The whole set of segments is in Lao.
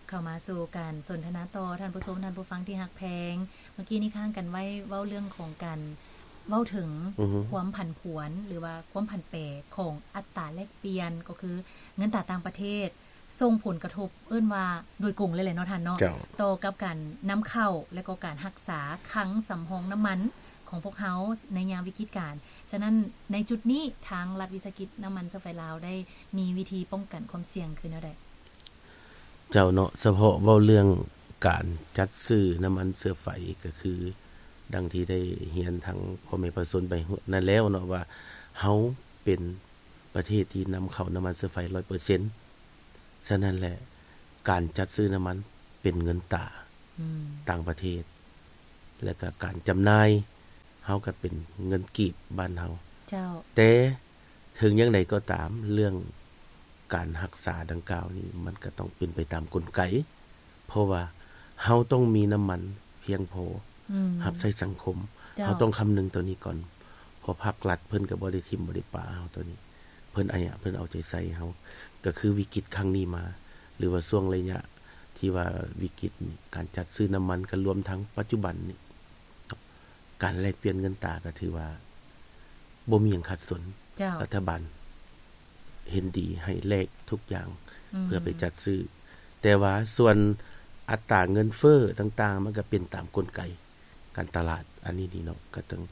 ເຂົ້າມາສູ່ການສົນທະນາຕໍ່ ທ່ານຜູ້ຊົມ ທ່ານຜູ້ຟັງທີ່ຮັກແພງ. ເມື່ອກີ້ນີ້ຄ້າງກັນໄວ້ເວົ້າເລື່ອງຂອງການເວົ້າເຖິງ ອືຮຶ ຄວາມຜັນຜວນ ຫຼືວ່າຄວາມຜັນແປຂອງອັດຕາແລກປ່ຽນ ກໍຄືເງິນຕາຕ່າງປະເທດ ສົ່ງຜົນກະທົບ ເອີ້ນວ່າໂດຍກົງເລີຍແຫຼະເນາະທ່ານເນາະ ເຈົ້າ ຕໍ່ກັບການນຳເຂົ້າ ແລະກໍການຮັກສາຄັງສຳຮອງນ້ຳມັນຂອງພວກເຮົາໃນຍາມວິກິດການ. ສະນັ້ນ ໃນຈຸດນີ້ ທາງລັດວິສາຫະກິດນ້ຳມັນເຊື້ອໄຟລາວ ໄດ້ມີວິທີປ້ອງກັນຄວາມສ່ຽງຄືແນວໃດ? ເຈົ້າເນາະ ສະເພາະເວົ້າເລື່ອງການຈັດຊື້ນ້ຳມັນເຊື້ອໄຟ ກໍຄືດັ່ງທີ່ໄດ້ຮຽນທາງພໍ່ແມ່ປະຊາຊົນໄປນັ້ນແລ້ວເນາະ ວ່າເຮົາເປັນປະເທດທີ່ນຳເຂົ້ານ້ຳມັນເຊື້ອໄຟຮ້ອຍເປີເຊັນ. ສະນັ້ນແຫຼະ ການຈັດຊື້ນ້ຳມັນເປັນເງິນຕາ ອືມ ຕ່າງປະເທດ ແລະກະການຈຳໜ່າຍ ເຮົາກໍເປັນເງິນກີບບ້ານເຮົາ. ເຈົ້າ. ແຕ່ເຖິງຢ່າງໃດກໍຕາມ ເລື່ອງການຮັກສາດັ່ງກ່າວນີ້ ມັນກໍຕ້ອງເປັນໄປຕາມກົນໄກ ເພາະວ່າເຮົາຕ້ອງມີນ້ຳມັນພຽງພໍ ອືມ ຮັບໃຊ້ສັງຄົມ. ເຈົ້າ. ເຮົາຕ້ອງຄຳນຶງໂຕນີ້ກ່ອນ ເພາະພາກລັດເພິ່ນກໍບໍ່ໄດ້ຖິ້ມບໍ່ໄດ້ປະເຮົາໂຕນີ້ ເພິ່ນອາຍະ ເພິ່ນເອົາໃຈໃສ່ເຮົາ. ກໍຄືວິກິດຄັ້ງນີ້ມາ ຫຼືວ່າຊ່ວງໄລຍະທີ່ວ່າວິກິດນີ້ ການຈັດຊື້ນ້ຳມັນ ກໍລວມທັງປັດຈຸບັນນີ້ ການແລກປ່ຽນເງິນຕາກໍຖືວ່າບໍ່ມີຫຍັງຂັດສົນ. ເຈົ້າ. ລັດຖະບານເຫັນດີໃຫ້ແລກທຸກຢ່າງ ອືມ ເພື່ອໄປຈັດຊື້ ແຕ່ວ່າສ່ວນອັດຕາເງິນເຟີ້ຕ່າງໆ ມັນກໍເປັນຕາມກົນໄກການຕະຫຼາດ. ອັນນີ້ນີ້ເນາະ ກໍຕ້ອງ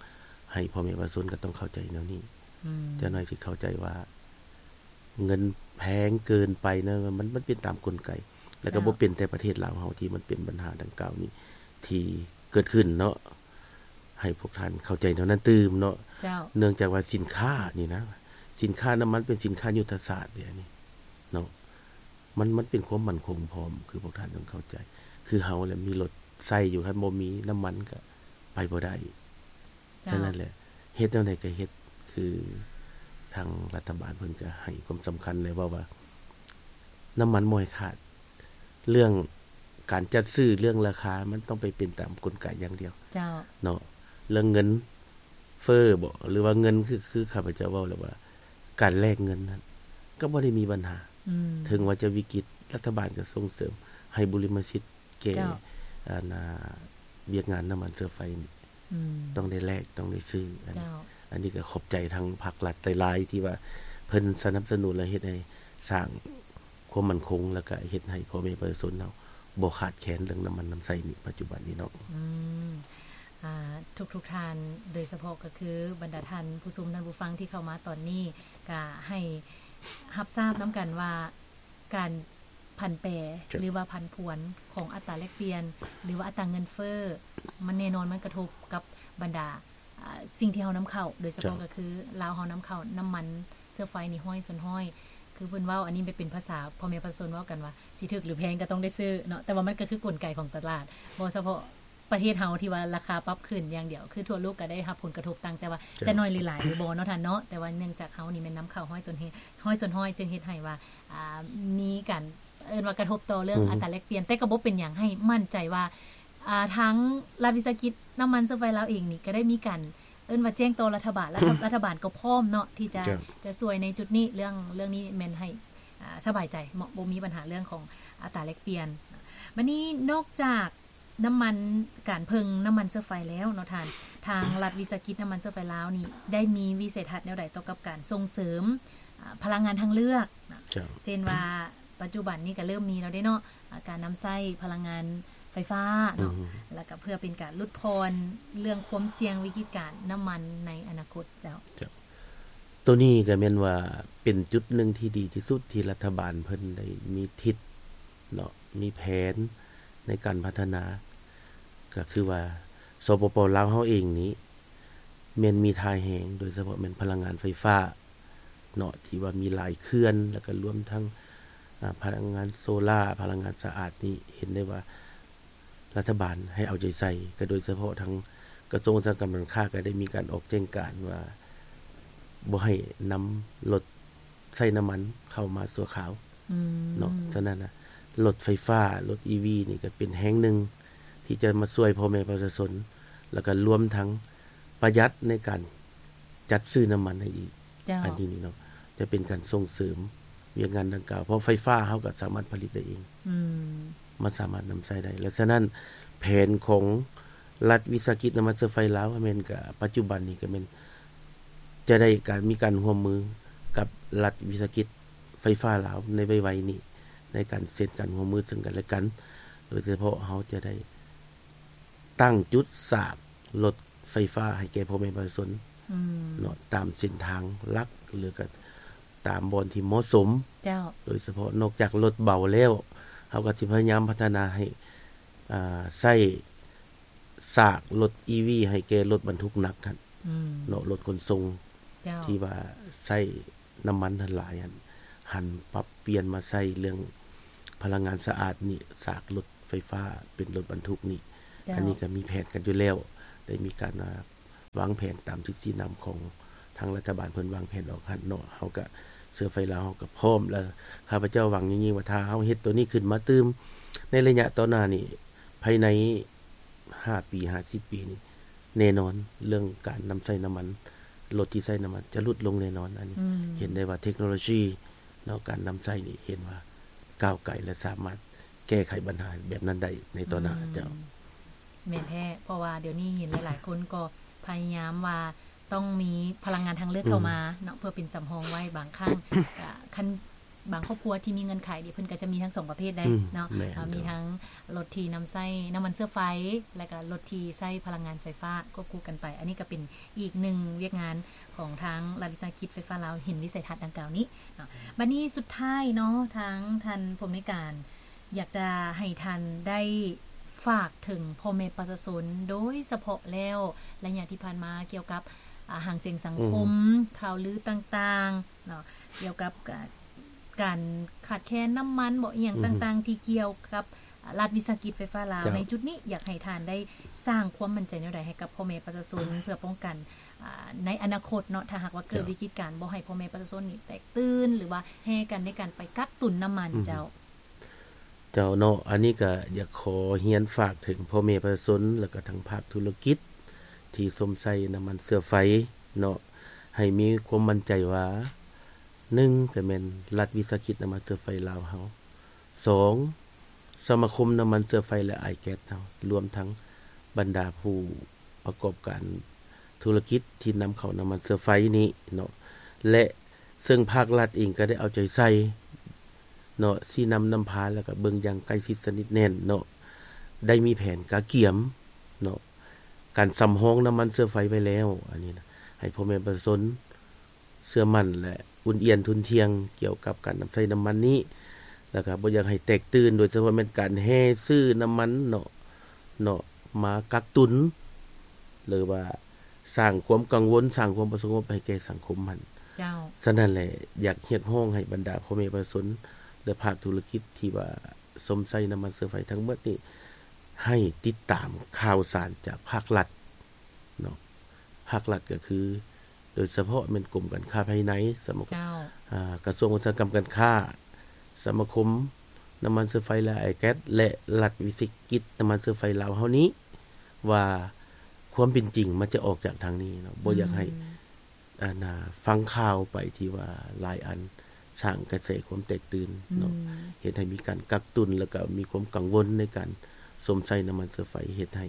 ໃຫ້ພໍ່ແມ່ປະຊາຊົນກໍຕ້ອງເຂົ້າໃຈແນວນີ້. ອືມ ແຕ່ໜ້ອຍຊິເຂົ້າໃຈວ່າ ເງິນແພງເກີນໄປນະ ມັນ ມັນເປັນຕາມກົນໄກ ແລ້ວກໍ ເຈົ້າ ບໍ່ເປັນແຕ່ປະເທດລາວເຮົາທີ່ມັນເປັນບັນຫາດັ່ງກ່າວນີ້ທີ່ເກີດຂຶ້ນເນາະ ໃຫ້ພວກທ່ານເຂົ້າໃຈແນວນັ້ນຕື່ມເນາະ. ເຈົ້າ. ເນື່ອງຈາກວ່າສິນຄ້ານີ້ນະ ສິນຄ້ານ້ຳມັນເປັນສິນຄ້າຍຸດທະສາດເດ ອັນນີ້ເນາະ ມັນ ມັນເປັນຄວາມໝັ້ນຄົງພ້ອມ ຄືພວກທ່ານຕ້ອງເຂົ້າໃຈ ຄືເຮົາແຫຼະມີລົດໃຊ້ຢູ່ ຄັນບໍ່ມີນ້ຳມັນກໍໄປບໍ່ໄດ້. ເຈົ້າ. ສະນັ້ນແຫຼະ ເຮັດແນວໃດກໍເຮັດ ຄືທາງລັດຖະບານເພິ່ນກໍໃຫ້ຄວາມສຳຄັນ ແລະ ເວົ້າວ່ານ້ຳມັນບໍ່ໃຫ້ຂາດ ເລື່ອງການຈັດຊື້ ເລື່ອງລາຄາ ມັນຕ້ອງໄປເປັນຕາມກົນໄກຢ່າງດຽວ. ເຈົ້າ. ເນາະ ເລື່ອງເງິນເຟີ້ບໍ ຫຼືວ່າເງິນ ຄື ຄືຂ້າພະເຈົ້າເວົ້າແລ້ວວ່າ ການແລກເງິນນັ້ນກໍບໍ່ໄດ້ມີບັນຫາ. ອືມ. ເຖິງວ່າຈະວິກິດ ລັດຖະບານກໍສົ່ງເສີມໃຫ້ບຸລິມະສິດ ແກ່ ເຈົ້າ ອັນ ອາ ວຽກງານນ້ຳມັນເຊື້ອໄຟນີ້ ອືມ ຕ້ອງໄດ້ແລກ ຕ້ອງໄດ້ຊື້. ອັນ ເຈົ້າ ອັນນີ້ກໍຂອບໃຈທາງພາກລັດຫຼາຍໆ ທີ່ວ່າເພິ່ນສະໜັບສະໜູນ ແລະ ເຮັດໃຫ້ສ້າງຄວາມໝັ້ນຄົງ ແລ້ວກໍເຮັດໃຫ້ພໍ່ແມ່ປະຊາຊົນເຮົາບໍ່ຂາດແຄນເລື່ອງນ້ຳມັນນ້ຳໃຊ້ນີ້ ປັດຈຸບັນນີ້ເນາະ. ອືມ ອາ ທຸກໆທ່ານ ໂດຍສະເພາະກໍຄືບັນດາທ່ານຜູ້ຊົມ ທ່ານຜູ້ຟັງທີ່ເຂົ້າມາຕອນນີ້ ກໍໃຫ້ຮັບຊາບນຳກັນວ່າ ການຜັນແປ ເຈົ້າ ຫຼືວ່າຜັນຜວນຂອງອັດຕາແລກປ່ຽນ ຫຼືວ່າອັດຕາເງິນເຟີ້ ມັນແນ່ນອນມັນກະທົບກັບບັນດາ ອາ ສິ່ງທີ່ເຮົານຳເຂົ້າ ໂດຍສະເພາະ ເຈົ້າ ກໍຄືລາວເຮົານຳເຂົ້ານ້ຳມັນເຊື້ອໄຟນີ້ຮ້ອຍສ່ວນຮ້ອຍ ຄືເພິ່ນເວົ້າ ອັນນີ້ແມ່ນເປັນພາສາພໍ່ແມ່ປະຊາຊົນເວົ້າກັນວ່າ ຊິຖືກຫຼືແພງກໍຕ້ອງໄດ້ຊື້ເນາະ ແຕ່ວ່າມັນກໍຄືກົນໄກຂອງຕະຫຼາດ ບໍ່ສະເພາະ ປະເທດເຮົາທີ່ວ່າລາຄາປັບຂຶ້ນຢ່າງດຽວ ຄືທົ່ວໂລກກໍໄດ້ຮັບຜົນກະທົບ ຕ່າງແຕ່ວ່າ ເຈົ້າ ຈະໜ້ອຍຫຼືຫຼາຍຫຼືບໍ່ເນາະທ່ານເນາະ ແຕ່ວ່າເນື່ອງຈາກເຮົານີ້ແມ່ນນຳເຂົ້າຮ້ອຍສ່ວນຮ້ອຍ ຮ້ອຍສ່ວນຮ້ອຍ ຈຶ່ງເຮັດໃຫ້ວ່າ ອ່າ ມີການ ເອີ້ນວ່າກະທົບຕໍ່ເລື່ອງ ອືມ ອັດຕາແລກປ່ຽນ ແຕ່ກໍບໍ່ເປັນຫຍັງ ໃຫ້ໝັ້ນໃຈວ່າ ອ່າ ທາງລັດວິສາຫະກິດນ້ຳມັນເຊື້ອໄຟລາວເອງນີ້ ກໍໄດ້ມີການ ເອີ້ນວ່າແຈ້ງຕໍ່ລັດຖະບານ ແລະ ອືມ ລັດຖະບານກໍພ້ອມເນາະ ທີ່ຈະ ເຈົ້າ ຈະຊ່ວຍໃນຈຸດນີ້ ເລື່ອງ ເລື່ອງນີ້ແມ່ນໃຫ້ ອ່າ ສະບາຍໃຈ ເນາະ ບໍ່ມີບັນຫາເລື່ອງຂອງອັດຕາແລກປ່ຽນ. ບັດນີ້ນອກຈາກ ນ້ຳມັນ ການເພິ່ງນ້ຳມັນເຊື້ອໄຟແລ້ວເນາະທ່ານ ທາງລັດວິສາຫະກິດນ້ຳມັນເຊື້ອໄຟລາວນີ້ ໄດ້ມີວິໄສທັດແນວໃດຕໍ່ກັບການສົ່ງເສີມ ອາ ພະລັງງານທາງເລືອກ ເຊັ່ນວ່າ ປັດຈຸບັນນີ້ກໍເລີ່ມມີແລ້ວເດ້ເນາະ ອາ ການນຳໃຊ້ພະລັງງານໄຟຟ້າເນາະ ແລ້ວກໍເພື່ອເປັນການຫຼຸດຜ່ອນເລື່ອງຄວາມສ່ຽງວິກິດການນ້ຳມັນໃນອະນາຄົດເຈົ້າ. ໂຕນີ້ກໍແມ່ນວ່າເປັນຈຸດໜຶ່ງທີ່ດີທີ່ສຸດທີ່ລັດຖະບານເພິ່ນໄດ້ມີທິດເນາະ ມີແຜນໃນການພັດທະນາ ກໍຄືວ່າ ສປປ ລາວເຮົາເອງນີ້ແມ່ນມີທ່າແຮງ ໂດຍສະເພາະແມ່ນພະລັງງານໄຟຟ້າເນາະ ທີ່ວ່າມີຫຼາຍເຂື່ອນ ແລ້ວກໍລວມທັງ ອາ ພະລັງງານໂຊລາ ພະລັງງານສະອາດນີ້ ເຫັນໄດ້ວ່າ ລັດຖະບານໃຫ້ເອົາໃຈໃສ່ ກໍໂດຍສະເພາະທາງກະຊວງອຸດສາຫະກຳການຄ້າ ກໍໄດ້ມີການອອກແຈ້ງການວ່າ ບໍ່ໃຫ້ນຳລົດໃຊ້ນ້ຳມັນເຂົ້າມາຊົ່ວຄາວເນາະ. ສະນັ້ນນະ ລົດໄຟຟ້າ ລົດ ອີ ວີ ນີ້ກໍເປັນແຮງໜຶ່ງທີ່ຈະມາຊ່ວຍພໍ່ແມ່ປະຊາຊົນ ແລ້ວກໍລວມທັງປະຢັດໃນການຈັດຊື້ນ້ຳມັນໃຫ້ອີກ. ເຈົ້າ. ອັນນີ້ນີ້ເນາະ ຈະເປັນການສົ່ງເສີມວຽກງານດັ່ງກ່າວ ເພາະໄຟຟ້າເຮົາກໍສາມາດຜະລິດໄດ້ເອງ. ອືມ. ມັນສາມາດນຳໃຊ້ໄດ້. ແລະ ສະນັ້ນ ແຜນຂອງລັດວິສາຫະກິດນ້ຳມັນເຊື້ອໄຟລາວ ແມ່ນກະປັດຈຸບັນນີ້ກະແມ່ນຈະໄດ້ການ ມີການຮ່ວມມືກັບລັດວິສາຫະກິດໄຟຟ້າລາວໃນໄວໆນີ້ ໃນການເຊັນການຮ່ວມມືເຊິ່ງກັນແລະກັນ. ໂດຍສະເພາະເຮົາຈະໄດ້ຕັ້ງຈຸດສາກລົດໄຟຟ້າໃຫ້ແກ່ພໍ່ແມ່ປະຊາຊົນ ອືມ ເນາະ ຕາມເສັ້ນທາງຫຼັກ ຫຼືກະ ຕາມບ່ອນທີ່ເໝາະສົມ. ເຈົ້າ. ໂດຍສະເພາະນອກຈາກລົດເບົາແລ້ວ ເຮົາກໍຊິພະຍາຍາມພັດທະນາໃຫ້ ອ່າ ໃຊ້ສາກລົດອີວີໃຫ້ແກ່ລົດບັນທຸກໜັກຫັ້ນ ອືມ ເນາະ ລົດຂົນສົ່ງ ເຈົ້າ ທີ່ວ່າໃຊ້ນ້ຳມັນຫັ້ນຫຼາຍຫັ້ນ ຫັນປັບປ່ຽນມາໃຊ້ເລື່ອງພະລັງງານສະອາດນີ້ ສາກລົດໄຟຟ້າເປັນລົດບັນທຸກນີ້. ເຈົ້າ. ອັນນີ້ກໍມີແຜນກັນຢູ່ແລ້ວ ໄດ້ມີການ ອ່າ ວາງແຜນຕາມທິດຊີ້ນຳຂອງທາງລັດຖະບານເພິ່ນວາງແຜນອອກຫັ້ນເນາະ. ເຮົາກະເຊື້ອໄຟລາວ ເຮົາກະພ້ອມ ແລະ ຂ້າພະເຈົ້າຫວັງຍິ່ງໆວ່າ ຖ້າເຮົາເຮັດໂຕນີ້ຂຶ້ນມາຕື່ມ ໃນໄລຍະຕໍ່ໜ້ານີ້ ພາຍໃນຫ້າປີ ຫ້າສິບປີນີ້ ແນ່ນອນ ເລື່ອງການນຳໃຊ້ນ້ຳມັນ ລົດທີ່ໃຊ້ນ້ຳມັນຈະຫຼຸດລົງແນ່ນອນ. ອັນນີ້ ອືມ ເຫັນໄດ້ວ່າເທັກໂນໂລຊີເນາະ ການນຳໃຊ້ນີ້ເຫັນວ່າກ້າວໄກ ແລະ ສາມາດແກ້ໄຂບັນຫາແບບນັ້ນໄດ້ໃນຕໍ່ໜ້າ. ອືມ ເຈົ້າ. ແມ່ນແທ້ ເພາະວ່າດຽວນີ້ເຫັນຫຼາຍໆຄົນກໍພະຍາຍາມວ່າຕ້ອງມີພະລັງງານທາງເລືອກເຂົ້າມາເນາະ ອືມ ເພື່ອເປັນສຳຮອງໄວ້. ບາງຄັ້ງ ກະ ຄັນບາງຄອບຄົວທີ່ມີເງື່ອນໄຂນີ້ ເພິ່ນກໍຈະມີທັງສອງປະເພດໄດ໋ ອືມ ເນາະ ແມ່ນ ເອີ ມີທັງລົດທີ່ນຳໃຊ້ນ້ຳມັນເຊື້ອໄຟ ແລະກະລົດທີ່ໃຊ້ພະລັງງານໄຟຟ້າຄວບຄູ່ກັນໄປ. ອັນນີ້ກໍເປັນອີກໜຶ່ງວຽກງານຂອງທາງລັດວິສາຫະກິດໄຟຟ້າລາວ ເຫັນວິໄສທັດດັ່ງກ່າວນີ້ເນາະ. ບັດນີ້ສຸດທ້າຍເນາະ ທາງທ່ານຜູ້ອຳນວຍການ ຢາກຈະໃຫ້ທ່ານໄດ້ຝາກເຖິງພໍ່ແມ່ປະຊາຊົນ ໂດຍສະເພາະແລ້ວໄລຍະທີ່ຜ່ານມາກ່ຽວກັບ ອາ ຫາງສຽງສັງຄົມ ອືມ ຂ່າວລືຕ່າງໆເນາະ ກ່ຽວກັບ ກາ ການຂາດແຄນນ້ຳມັນບໍ ອີ່ຫຍັງ ອືມ ຕ່າງໆ ທີ່ກ່ຽວກັບ ອາ ລັດວິສາຫະກິດໄຟຟ້າລາວ. ເຈົ້າ. ໃນຈຸດນີ້ຢາກໃຫ້ທ່ານໄດ້ສ້າງຄວາມໝັ້ນໃຈແນວໃດໃຫ້ກັບພໍ່ແມ່ປະຊາຊົນ ເພື່ອປ້ອງກັນ ອາ ໃນອະນາຄົດເນາະ ຖ້າຫາກວ່າເກີດ ເຈົ້າ ວິກິດການ ບໍ່ໃຫ້ພໍ່ແມ່ປະຊາຊົນນີ້ແຕກຕື່ນ ຫຼືວ່າແຫ່ກັນໃນການໄປກັກຕຸນນ້ຳມັນ. ອືມ ເຈົ້າ. ເຈົ້າເນາະ ອັນນີ້ກະຢາກຂໍຮຽນຝາກເຖິງພໍ່ແມ່ປະຊາຊົນ ແລ້ວກະທັງພາກທຸລະກິດທີ່ຊົມໃຊ້ນ້ຳມັນເຊື້ອໄຟເນາະ ໃຫ້ມີຄວາມໝັ້ນໃຈວ່າ ໜຶ່ງ ກະແມ່ນລັດວິສາຫະກິດນ້ຳມັນເຊື້ອໄຟລາວເຮົາ, ສອງ ສະມາຄົມນ້ຳມັນເຊື້ອໄຟ ແລະ ອາຍແກັສເຮົາ ລວມທັງບັນດາຜູ້ປະກອບການທຸລະກິດທີ່ນຳເຂົ້ານ້ຳມັນເຊື້ອໄຟນີ້ເນາະ ແລະ ເຊິ່ງພາກລັດເອງກໍໄດ້ເອົາໃຈໃສ່ເນາະ ຊີ້ນຳນຳພາ ແລ້ວກໍເບິ່ງຢ່າງໃກ້ຊິດສະໜິດແໜ້ນເນາະ ໄດ້ມີແຜນກະກຽມເນາະ ການສຳຮອງນ້ຳມັນເຊື້ອໄຟໄວ້ແລ້ວ. ອັນນີ້ນະ ໃຫ້ພໍ່ແມ່ປະຊາຊົນເຊື່ອໝັ້ນ ແລະ ອຸ່ນອຽນທຸ່ນທ່ຽງກ່ຽວກັບການນຳໃຊ້ນ້ຳມັນນີ້ ແລ້ວກໍບໍ່ຢາກໃຫ້ແຕກຕື່ນ ໂດຍສະເພາະແມ່ນການແຫ່ຊື້ນ້ຳມັນເນາະ ເນາະ ມາກັກຕຸນ ຫຼືວ່າ ສ້າງຄວາມກັງວົນ ສ້າງຄວາມບໍ່ສະຫງົບໃຫ້ແກ່ສັງຄົມຫັ້ນ. ເຈົ້າ. ສະນັ້ນແຫຼະ ຢາກຮຽກຮ້ອງໃຫ້ບັນດາພໍ່ແມ່ປະຊາຊົນ ແລະ ພາກທຸລະກິດທີ່ວ່າຊົມໃຊ້ນ້ຳມັນເຊື້ອໄຟທັງໝົດນີ້ ໃຫ້ຕິດຕາມຂ່າວສານຈາກພາກລັດເນາະ ພາກລັດກໍຄື ໂດຍສະເພາະແມ່ນກົມການຄ້າພາຍໃນ ສະມາຄົມ ເຈົ້າ. ອາ ກະຊວງອຸດສາຫະກຳການຄ້າ ສະມາຄົມນ້ຳມັນເຊື້ອໄຟ ແລະ ອາຍແກັສ ແລະ ລັດວິສາຫະກິດນ້ຳມັນເຊື້ອໄຟລາວເຮົານີ້ ວ່າຄວາມເປັນຈິງມັນຈະອອກຈາກທາງນີ້ເນາະ ບໍ່ຢາກໃຫ້ ອືມ ອັນນ່າ ຟັງຂ່າວໄປທີ່ວ່າຫຼາຍອັນສ້າງກະແສຄວາມແຕກຕື່ນເນາະ ອືມ ເຮັດໃຫ້ມີການກັກຕຸນ ແລ້ວກໍມີຄວາມກັງວົນໃນການຊົມໃຊ້ນ້ຳມັນເຊື້ອໄຟ ເຮັດໃຫ້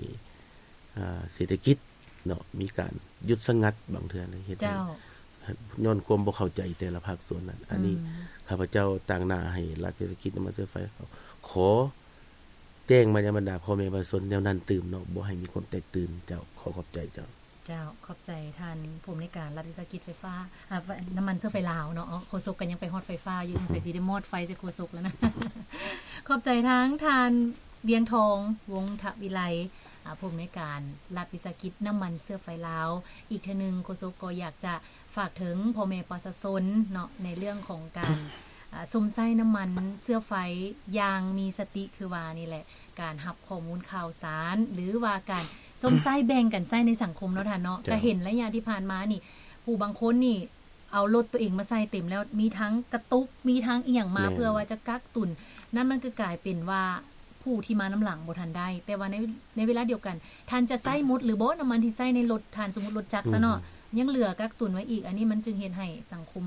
ອາ ເສດຖະກິດເນາະ ມີການຢຸດສະຫງັດບາງເທື່ອເລີຍ ເຮັດໃຫ້ ເຈົ້າ ຍ້ອນຄວາມບໍ່ເຂົ້າໃຈແຕ່ລະພາກສ່ວນນັ້ນ. ອັນນີ້ ອືມ ຂ້າພະເຈົ້າຕາງໜ້າໃຫ້ລັດວິສາຫະກິດນ້ຳມັນເຊື້ອໄຟ ຂໍແຈ້ງມາຍັງບັນດາພໍ່ແມ່ປະຊາຊົນແນວນັ້ນຕື່ມເນາະ ບໍ່ໃຫ້ມີຄວາມແຕກຕື່ນ. ເຈົ້າ ຂໍຂອບໃຈເຈົ້າ. ເຈົ້າ ຂອບໃຈທ່ານຜູ້ອຳນວຍການລັດວິສາຫະກິດໄຟຟ້າ ອາ ນ້ຳມັນເຊື້ອໄຟລາວເນາະ. ໂຄສົກກໍຍັງໄປຮອດໄຟຟ້າຢູ່ ສົງໄສຊິໄດ້ມອດໄຟໃສ່ໂຄສົກແລ້ວນະ. ຂອບໃຈທາງທ່ານ ວຽງທອງ ວົງທະວິໄລ ອາ ຜູ້ອຳນວຍການລັດວິສາຫະກິດນ້ຳມັນເຊື້ອໄຟລາວ. ອີກເທື່ອໜຶ່ງ ໂຄສົກກໍຢາກຈະຝາກເຖິງພໍ່ແມ່ປະຊາຊົນເນາະ ໃນເລື່ອງຂອງການ ອາ ຊົມໃຊ້ນ້ຳມັນເຊື້ອໄຟຢ່າງມີສະຕິ ຄືວ່ານີ້ແຫຼະ ການຮັບຂໍ້ມູນຂ່າວສານ ຫຼືວ່າການຊົມໃຊ້ແບ່ງກັນໃຊ້ໃນສັງຄົມເນາະທ່ານເນາະ. ເຈົ້າ. ກໍເຫັນໄລຍະທີ່ຜ່ານມານີ້ ຜູ້ບາງຄົນນີ້ເອົາລົດຕົວເອງມາໃສ່ເຕັມແລ້ວ ມີທັງກະຕຸກ ມີທັງອີ່ຫຍັງມາ ແມ່ນ ເພື່ອວ່າຈະກັກຕຸນ. ນັ້ນມັນກໍກາຍເປັນວ່າຜູ້ທີ່ມານຳຫຼັງບໍ່ທັນໄດ້ ແຕ່ວ່າໃນ ໃນເວລາດຽວກັນ ທ່ານຈະໃຊ້ໝົດຫຼືບໍ່ ນ້ຳມັນທີ່ໃຊ້ໃນລົດທ່ານ ສົມມຸດລົດຈັກຊະເນາະ ອືມ ຍັງເຫຼືອກັກຕຸນໄວ້ອີກ. ອັນນີ້ມັນຈຶ່ງເຮັດໃຫ້ສັງຄົມ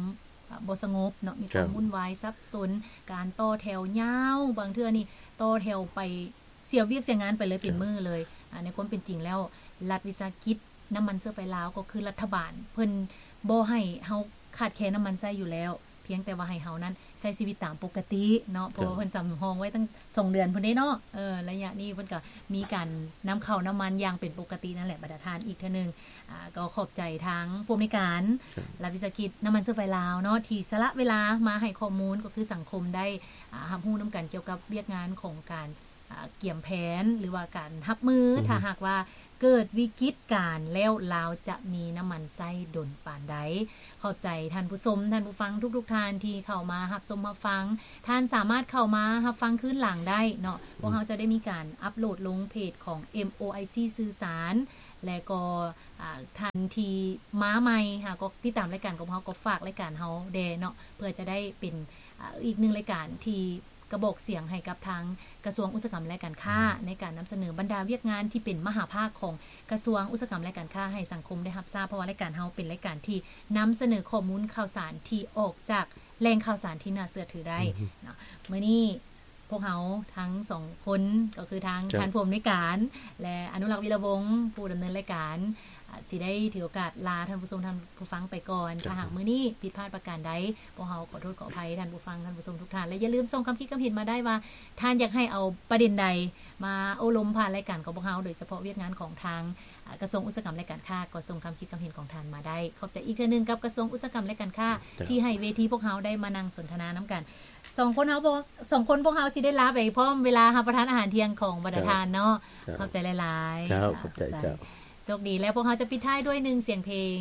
ບໍ່ສະຫງົບເນາະ ມີຄວາມວຸ່ນວາຍສັບສົນ ການຕໍ່ແຖວຍາວ ບາງເທື່ອນີ້ຕໍ່ແຖວໄປ ເສຍວຽກເສຍງານໄປເລີຍເປັນມື້ເລີຍ. ໃນຄວາມເປັນຈິງແລ້ວ ລັດວິສາຫະກິດນ້ຳມັນເຊື້ອໄຟລາວ ກໍຄືລັດຖະບານເພິ່ນບໍ່ໃຫ້ເຮົາຂາດແຄນນ້ຳມັນໃຊ້ຢູ່ແລ້ວ ພຽງແຕ່ວ່າໃຫ້ເຮົານັ້ນໃຊ້ຊີວິດຕາມປົກກະຕິເນາະ ເພາະວ່າເພິ່ນສຳຮອງໄວ້ຕັ້ງສອງເດືອນພຸ້ນເດ້ເນາະ. ເອີ ໄລຍະນີ້ເພິ່ນກໍມີການນຳເຂົ້ານ້ຳມັນຢ່າງເປັນປົກກະຕິນັ້ນແຫຼະ ບັນດາທ່ານ. ອີກເທື່ອໜຶ່ງ ອາ ກໍຂອບໃຈທາງຜູ້ອຳນວຍການລັດວິສາຫະກິດນ້ຳມັນເຊື້ອໄຟລາວເນາະ ທີ່ສະຫຼະເວລາມາໃຫ້ຂໍ້ມູນ ກໍຄືສັງຄົມໄດ້ ອາ ຮັບຮູ້ນຳກັນກ່ຽວກັບວຽກງານຂອງການ ອາ ກຽມແຜນ ຫຼືວ່າການຮັບມື ຖ້າຫາກວ່າເກີດວິກິດການແລ້ວ ລາວຈະມີນ້ຳມັນໃຊ້ດົນປານໃດ. ຂອບໃຈທ່ານຜູ້ຊົມ ທ່ານຜູ້ຟັງທຸກໆທ່ານທີ່ເຂົ້າມາຮັບຊົມຮັບຟັງ. ທ່ານສາມາດເຂົ້າມາຮັບຟັງຄືນຫຼັງໄດ້ເນາະ. ພວກເຮົາຈະໄດ້ມີການອັບໂຫຼດລົງເພຈຂອງ ເອັມໂອໄອຊີ ສື່ສານ ແລະກໍ ອາ ທ່ານທີ່ມາໃໝ່ຫາກໍຕິດຕາມລາຍການຂອງເຮົາ ກໍຝາກລາຍການເຮົາແດ່ເນາະ ເພື່ອຈະໄດ້ເປັນ ອາ ອີກໜຶ່ງລາຍການທີ່ກະບອກສຽງໃຫ້ກັບທາງກະຊວງອຸດສາຫະກຳ ແລະ ການຄ້າ ໃນການນຳສະເໜີບັນດາວຽກງານທີ່ເປັນມະຫາພາກຂອງກະຊວງອຸດສາຫະກຳ ແລະ ການຄ້າໃຫ້ສັງຄົມໄດ້ຮັບຊາບ ເພາະວ່າລາຍການເຮົາເປັນລາຍການທີ່ນຳສະເໜີຂໍ້ມູນຂ່າວສານທີ່ອອກຈາກແຫຼ່ງຂ່າວສານທີ່ໜ້າເຊື່ອຖືໄດ້ເນາະ. ມື້ນີ້ ພວກເຮົາທັງສອງຄົນ ກໍຄືທາງທ່ານຜູ້ອຳນວຍການ ແລະ ອະນຸລັກ ວິລະວົງ ຜູ້ດຳເນີນລາຍການ ອາ ຊິໄດ້ຖືໂອກາດລາທ່ານຜູ້ຊົມທ່ານຜູ້ຟັງໄປກ່ອນ. ຖ້າຫາກມື້ນີ້ຜິດພາດປະການໃດ ພວກເຮົາຂໍໂທດຂໍອະໄພທ່ານຜູ້ຟັງທ່ານຜູ້ຊົມທຸກທ່ານ ແລະ ຢ່າລືມສົ່ງຄຳຄິດຄຳເຫັນມາໄດ້ວ່າ ທ່ານຢາກໃຫ້ເອົາປະເດັນໃດມາໂອ້ລົມຜ່ານລາຍການຂອງພວກເຮົາ ໂດຍສະເພາະວຽກງານຂອງທາງ ອາ ກະຊວງອຸດສາຫະກຳ ແລະ ການຄ້າ ກໍສົ່ງຄຳຄິດຄຳເຫັນຂອງທ່ານມາໄດ້. ຂອບໃຈອີກເທື່ອໜຶ່ງກັບກະຊວງອຸດສາຫະກຳ ແລະ ການຄ້າ ທີ່ໃຫ້ເວທີພວກເຮົາໄດ້ມານັ່ງສົນທະນານຳກັນ. ສອງຄົນເຮົາບໍ່ ສອງຄົນພວກເຮົາຊິໄດ້ລາໄປພ້ອມເວລາຮັບປະທານອາຫານທ່ຽງຂອງບັນດາທ່ານເນາະ. ຂອບໃຈຫຼາຍໆ. ໂຊກດີ ແລ້ວພວກເຮົາຈະປິດທ້າຍດ້ວຍໜຶ່ງສຽງເພງ.